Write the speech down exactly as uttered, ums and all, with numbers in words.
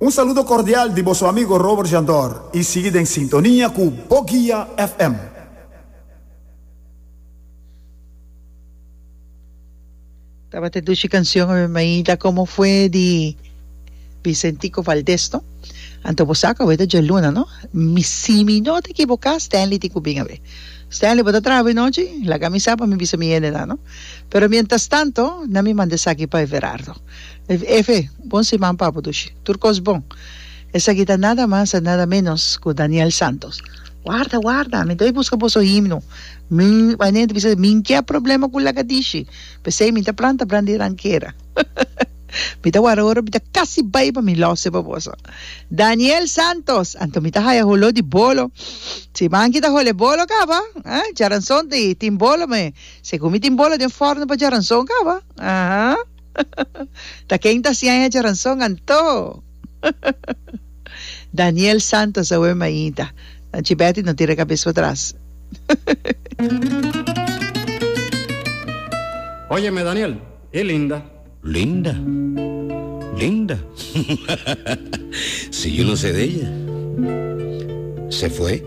Un saludo cordial di boso amigo Robert Jandor y sigui den sintonia cu Bo Guia F M. Tabata dushi cancion awe mainta, "Como fue" di Vicentico Valdez, no? Anto bo sa cu awe ta djaluna, no? Mi, si mi no ta ekivoká, Stanley tin ku bin awe. Stanley, bo ta traha anochi? Laga mi sa pa mi bisa mi hendenan, no? Pero mientras tanto, na mi manda esaki pa Everardo. Efe, bon siman pa bo, dushi. Tur kos bon. Esaki ta nada mas y nada menos ku Daniel Santos. Warda, warda, mi ta buska boso himno. Mi, wanneer bisa, mi ke problema ku lagadishi. P'esei mi ta planta brandi rankera. Mi ta warda ora, mi ta kasi bai pa mi lose pa boso. Daniel Santos, anto mi ta haya holo di bolo. Si manki ta hole bolo kaba, eh? Djaranson di tin bolo me. Segun mi tin bolo den forno pa djaranson kaba. Aha. Ta ken ta hasiendo djaranson anto? Daniel Santos awe mainta. Tanchi Betty, no tira kabes patras. Óyeme, Daniel, ¿y Linda? Linda. Linda. Si yo no sé de ella. Se fue.